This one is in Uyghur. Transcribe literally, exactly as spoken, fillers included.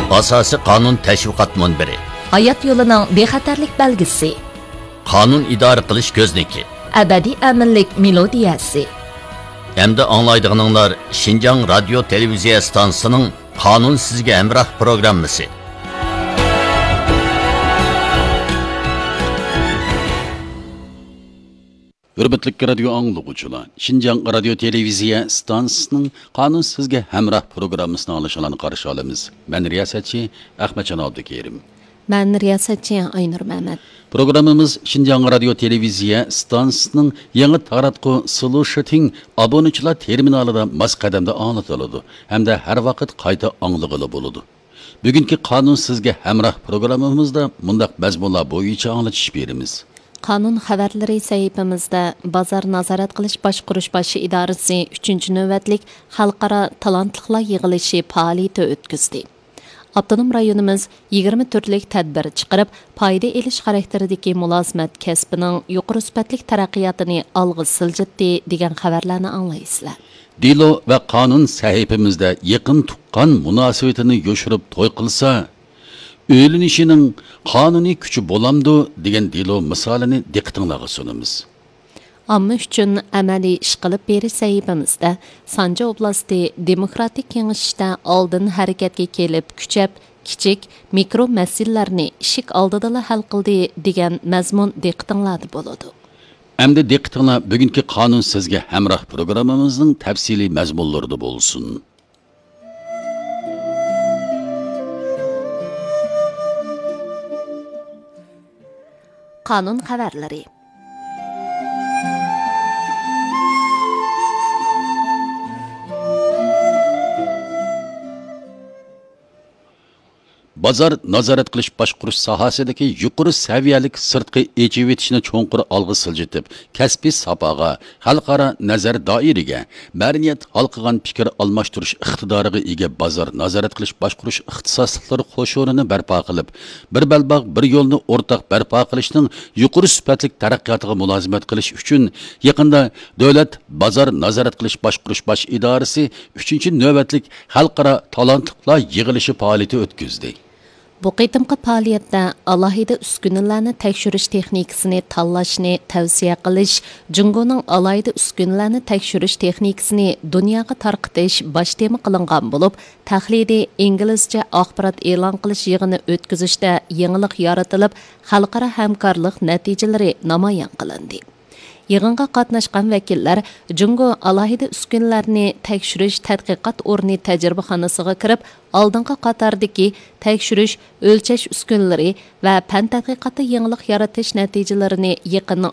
ئاساسىي قانۇن تەشۋىقات مۇنبىرى. ھايات يولىنىڭ بىخەتەرلىك بەلگىسى. قانۇن ئىدارە قىلىش كۆزنىكى. ئەبەدىي ئەمىنلىك مېلودىيەسى. ئەمدى ئاڭلايدىغىنىڭلار شىنجاڭ رادىيو تېلېۋىزىيە ئىستانسىسىنىڭ قانۇن سىزگە ھەمراھ پروگراممىسى. ھۆرمەتلىك رادىيو ئاڭلىغۇچىلار، شىنجاڭ رادىيو تېلېۋىزىيە ئىستانسىسىنىڭ قانۇن سىزگە ھەمراھ پروگراممىسىنى ئاڭلىشىڭلارنى قارشى ئالىمىز. مەن رىياسەتچى ئەخمەتجان ئابدۇكېرىم. مەن رىياسەتچى ئاينۇر مەمەت. پروگراممىمىز شىنجاڭ رادىيو تېلېۋىزىيە ئىستانسىسىنىڭ يېڭى تاراتقۇ سلوشىتىڭ ئابۇنىچىلار تېرمىنالىدا ماس قەدەمدە ئاڭلىتىلىدۇ ھەمدە ھەر ۋاقىت قايتا ئاڭلىغىلى بولىدۇ. بۈگۈنكى قانۇن سىزگە ھەمراھ پروگراممىمىزدا مۇنداق مەزمۇنلار بويىچە ئاڭلىتىش بېرىمىز. قانۇن خەۋەرلىرى سەھىپىمىزدە بازار نازارەت قىلىش باشقۇرۇش باش ئىدارىسى ئۈچىنچى نۆۋەتلىك خەلقئارا تالانتلىقلار يىغىلىشى پائالىيىتى ئۆتكۈزدى. ئاپتونوم رايونىمىز يىگىرمە تۈرلۈك تەدبىر چىقىرىپ، پايدا ئېلىش خاراكتېرىدىكى مۇلازىمەت كەسپىنىڭ يۇقىرى سۈپەتلىك تەرەققىياتىنى ئالغا سىلجىتتى، دېگەن خەۋەرلەرنى ئاڭلايسىلەر. دېلو ۋە قانۇن سەھىپىمىزدە يېقىن تۇغقان مۇناسىۋىتىنى يوشۇرۇپ توي قىلسا، ئۆيلىنىشىنىڭ قانۇنىي كۈچى بولامدۇ؟ دېگەن دېلو مىسالىنى دىققىتىڭلارغا سۇنىمىز. ئامما ئۈچۈن ئەمەلىي ئىش قىلىپ بېرىش سەھىپىمىزدە سانجى ئوبلاستى دېموكراتىك كېڭىشىشتە ئالدىن ھەرىكەتكە كېلىپ، كۈچەپ، كىچىك، مىكرو مەسىلىلەرنى ئىشىك ئالدىدىلا ھەل قىلدى، دېگەن مەزمۇن دىققىتىڭلاردا بولىدۇ. ئەمدى دىققىتىڭلار بۈگۈنكى قانۇن سىزگە ھەمراھ پروگراممىمىزنىڭ تەپسىلىي مەزمۇنلىرىدا بولسۇن. قانۇن خەۋەرلىرى. بازار نازارەت قىلىش باشقۇرۇش ساھەسىدىكى يۇقىرى سەۋىيەلىك سىرتقى ئېچىۋېتىشنى چوڭقۇر ئالغا سىلجىتىپ، كەسپىي ساپاغا، خەلقئارا نەزەر دائىرىگە، مەدەنىيەت ھالقىغان پىكىر ئالماشتۇرۇش ئىقتىدارىغا ئىگە بازار نازارەت قىلىش باشقۇرۇش ئىختىساسلىقلىرى قوشۇنىنى بەرپا قىلىپ، بىر بەلباغ، بىر يولنى ئورتاق بەرپا قىلىشنىڭ يۇقىرى سۈپەتلىك تەرەققىياتىغا مۇلازىمەت قىلىش ئۈچۈن، يېقىندا دۆلەت بازار نازارەت قىلىش باشقۇرۇش باش ئىدارىسى ئۈچىنچى نۆۋەتلىك خەلقئارا تالانتلىقلار يىغىلىشى پائالىيىتى ئۆتكۈزدى. بۇ قېتىمقى پائالىيەتتە ئالاھىدە ئۈسكۈنىلەرنى تەكشۈرۈش تېخنىكىسىنى تاللاشنى تەۋسىيە قىلىش، جۇڭگونىڭ ئالاھىدە ئۈسكۈنىلەرنى تەكشۈرۈش تېخنىكىسىنى دۇنياغا تارقىتىش باش تېما قىلىنغان بولۇپ، تەقلىدىي ئىنگلىزچە ئاخبارات ئېلان قىلىش يىغىنى ئۆتكۈزۈشتە يېڭىلىق يارىتىلىپ، خەلقئارا ھەمكارلىق نەتىجىلىرى نامايان قىلىندى. يىغىنغا قاتناشقان ۋەكىللەر جۇڭگو ئالاھىدە ئۈسكۈنىلەرنى تەكشۈرۈش تەتقىقات ئورنى تەجرىبىخانىسىغا كىرىپ، ئالدىنقى قاتاردىكى تەكشۈرۈش، ئۆلچەش ئۈسكۈنىلىرى ۋە پەن تەتقىقاتتا يېڭىلىق يارىتىش نەتىجىلىرىنى يېقىندىن